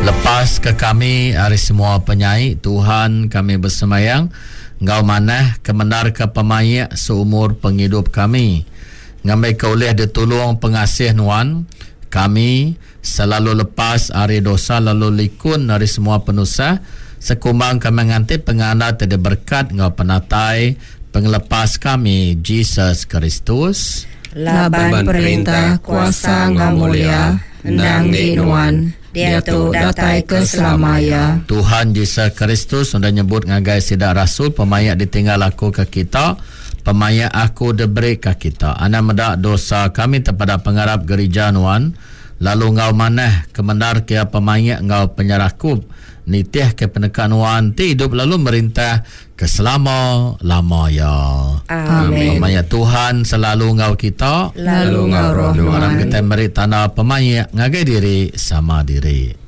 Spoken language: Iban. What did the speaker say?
Lepas ke kami ari semua penyai Tuhan kami besembayang enggau manah kemendarka pemaik seumur pengidup kami ngambika ulih ditulung pengasih nuan kami selalu lepas ari dosa lalu likun ari semua penusah sekumbang kami nganti pengandal ti diberkat enggau penatai pengelepas kami Jesus Kristus. Laban perintah, kuasa enggau mulia endang enggi Nuan, diatu datai ke selama iya. Tuhan Jesus Kristus udah nyebut ngagai sida rasul, Pemaik ditinggal aku ke kita, pemaik aku diberi ka kita. Anang meda dosa kami tepada pengarap gerija nuan, lalu enggau manah kemendar ke iya pemaik enggau penyerakup nitih ke peneka nuan ti idup lalu merintah Ke selama lama iya. Amin. Pemaik Tuhan selalu enggau kita. Lalu enggau roh nuan. Aram kitai meri tanda pemaik ngagai diri sama diri.